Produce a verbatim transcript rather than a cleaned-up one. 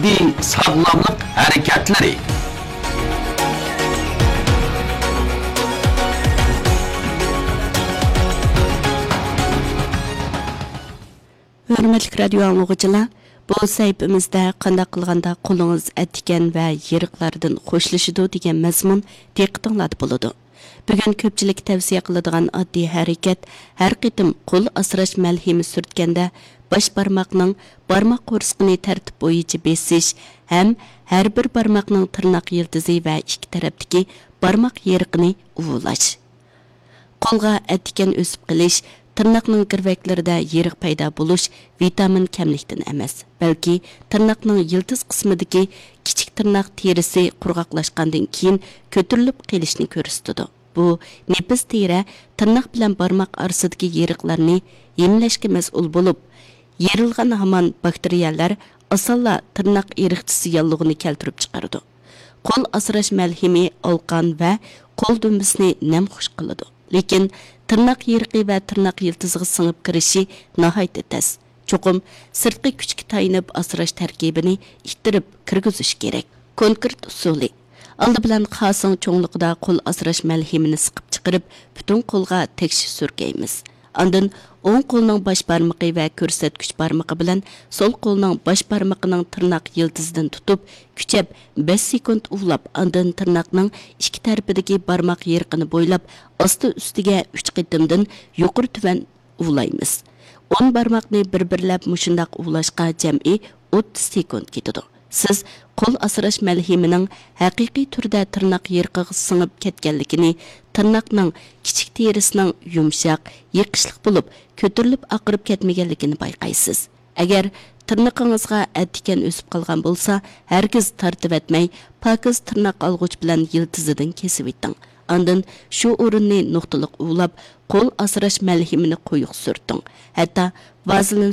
ساغلاملىق ھەرىكەتلىرى. ھۆرمەتلىك رادىيو ئاڭلىغۇچىلار، بۇ سەھىپىمىزدە قانداق قىلغاندا قولىڭىز ئەتىكەن ۋە يېرىقلاردىن خوشلىشىدۇ دېگەن مەزمۇن دىققىتىڭلاردا بولىدۇ. بۈگۈن كۆپچىلىك تەۋسىيە قىلىدىغان ئاددىي ھەرىكەت، ھەر قېتىم قول ئاسراش مەلھىمى سۈرتكەندە، باش بارماقنىڭ بارماق قورسىقىنى تەرتىپ بويىچە بېسىش ھەم ھەر بىر بارماقنىڭ تىرناق يىلتىزى ۋە ئىككى تەرەپتىكى بارماق يېرىقىنى ئۇۋۇلاش. قولغا ئەتىكەن ئۆسۈپ قېلىش تىرناقنىڭ گىرۋەكلىرىدە يېرىق پەيدا بولۇش ۋىتامىن كەملىكتىن ئەمەس، بەلكى تىرناقنىڭ يىلتىز قىسمىدىكى كىچىك تىرناق تېرىسى قۇرغاقلاشقاندىن كېيىن كۆتۈرۈلۈپ قېلىشنى كۆرسىتىدۇ. بۇ نېپىز تېرە تىرناق بىلەن بارماق ئارىسىدىكى يېرىقلارنى ھىملەشكە مەسئۇل بولۇپ، يېرىلغان ھامان باكتېرىيەلەر ئاسانلا تىرناق ئېرىقچىسى ياللۇغىنى كەلتۈرۈپ چىقىرىدۇ. قول ئاسراش مەلھىمى ئالقان ۋە قول دۈمبىسىنى نەمخۇش قىلىدۇ. لېكىن تىرناق يېرىقى ۋە تىرناق يىلتىزىغا سىڭىپ كىرىشى ناھايىتى تەس. چوقۇم سىرتقى كۈچكە تايىنىپ ئاسراش تەركىبىنى ئىتتىرىپ كىرگۈزۈش كېرەك. كونكرېت ئۇسۇلى. ئالدى بىلەن خاسىڭ چوڭلۇقىدا قول ئاسراش مەلھىمىنى سىقىپ چىقىرىپ، پۈتۈن قولغا تەكشى سۈركەيمىز. ئاندىن ئوڭ قولنىڭ باش بارمىقى ۋە كۆرسەتكۈچ بارمىقى بىلەن سول قولنىڭ باش بارمىقىنىڭ تىرناق يىلتىزىدىن تۇتۇپ، كۈچەپ بەش سېكۇنت ئۇۋۇلاپ، ئاندىن تىرناقنىڭ ئىككى تەرىپىدىكى بارماق يېرىقىنى بويلاپ، ئاستا ئۈستىگە ئۈچ قېتىمدىن يۇقىرى تۆۋەن ئۇۋۇلايمىز. ئون بارماقنى بىر-بىرلەپ مۇشۇنداق ئۇۋۇلاشقا جەمئىي ئوتتۇز سېكۇنت كېتىدۇ. سىز قول ئاسراش مەلھىمىنىڭ ھەقىقىي تۈردە تىرناق يېرىقىغا سىڭىپ كەتكەنلىكىنى، تىرناقنىڭ كىچىك تېرىسىنىڭ يۇمشاق، يېقىشلىق بولۇپ، كۆتۈرۈلۈپ ئاقىرىپ كەتمىگەنلىكىنى بايقايسىز. ئەگەر تىرنىقىڭىزغا ئەتىكەن ئۆسۈپ قالغان بولسا، ھەرگىز تارتىۋەتمەي، پاكىز تىرناق ئالغۇچ بىلەن يىلتىزىدىن كېسىۋېتىڭ. ئاندىن شۇ ئورۇننى نۇقتىلىق ئۇۋۇلاپ، قول ئاسراش مەلھىمىنى قويۇق سۈرتۈڭ. ھەتتا ۋازېلىن